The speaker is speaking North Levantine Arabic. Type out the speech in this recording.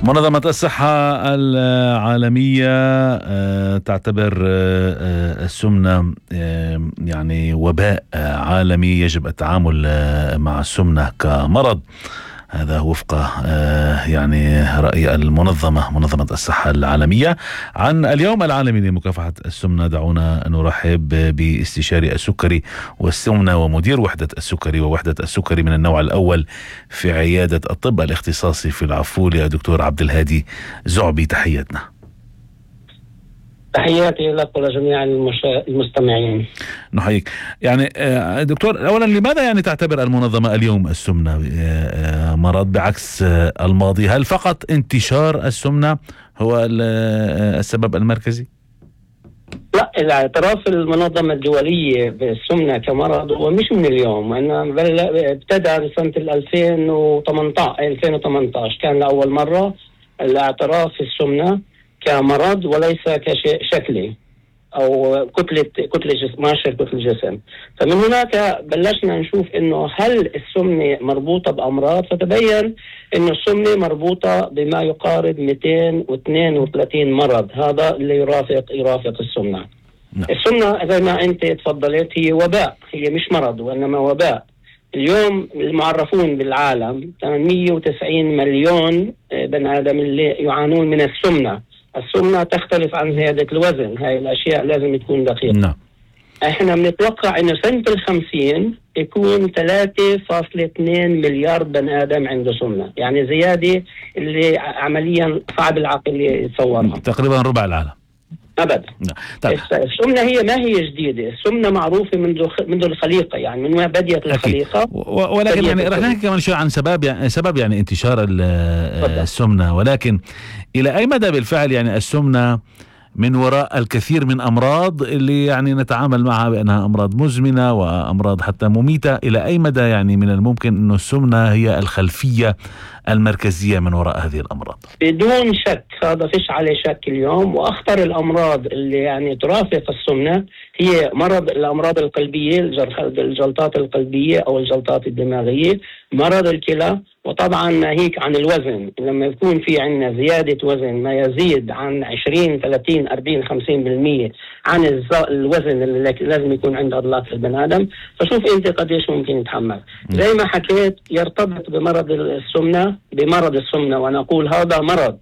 منظمة الصحة العالمية تعتبر السمنة يعني وباء عالمي يجب التعامل مع السمنة كمرض. هذا وفق يعني رأي منظمة الصحة العالمية. عن اليوم العالمي لمكافحة السمنة دعونا نرحب باستشاري السكري والسمنة ومدير وحدة السكري ووحدة السكري من النوع الأول في عيادة الطب الاختصاصي في العفولة دكتور عبد الهادي زعبي. تحياتنا. تحياتي لك ولجميع المستمعين. نحييك. يعني دكتور، أولا لماذا يعني تعتبر المنظمة اليوم السمنة مرض بعكس الماضي؟ هل فقط انتشار السمنة هو السبب المركزي؟ لا، الاعتراف المنظمة الدولية بالسمنة كمرض هو مش من اليوم، وإنما ابتدى بسنة 2018 كان لأول مرة الاعتراف في السمنة كمرض وليس كشيء شكلي أو كتلة جسم. فمن هناك بلشنا نشوف إنه هل السمنة مربوطة بأمراض، فتبين إنه السمنة مربوطة بما يقارب 232 مرض. هذا اللي يرافق السمنة. السمنة زي ما أنت تفضلت هي وباء، هي مش مرض وإنما وباء. اليوم المعرفون بالعالم 890 مليون بني آدم اللي يعانون من السمنة. السمنة تختلف عن زيادة الوزن، هاي الأشياء لازم تكون دقيقة. نعم. احنا بنتوقع انه سنة 50 يكون 3.2 مليار بني آدم عنده سمنة، يعني زيادة اللي عمليا صعب العقل يتصورها. تقريبا ربع العالم. أبدا. طيب. السمنة هي ما هي جديدة، السمنة معروفة منذ الخليقة، يعني من ما بديت الخليقة. ولكن يعني رح نحكي كمان شوي عن سبب يعني انتشار السمنة، ولكن إلى أي مدى بالفعل يعني السمنة من وراء الكثير من أمراض اللي يعني نتعامل معها بأنها أمراض مزمنة وأمراض حتى مميتة، إلى أي مدى يعني من الممكن أنه السمنة هي الخلفية المركزية من وراء هذه الأمراض؟ بدون شك، هذا فيش عليه شك اليوم. وأخطر الأمراض اللي يعني ترافق السمنة هي الأمراض القلبية، الجلطات القلبية أو الجلطات الدماغية، مرض الكلى، وطبعا ناهيك عن الوزن. لما يكون في عندنا زيادة وزن ما يزيد عن 20 30 40 50% عن الوزن اللي لازم يكون عند عضلات البني آدم، فشوف انت قديش ممكن يتحمل. زي ما حكيت يرتبط بمرض السمنة، وانا اقول هذا مرض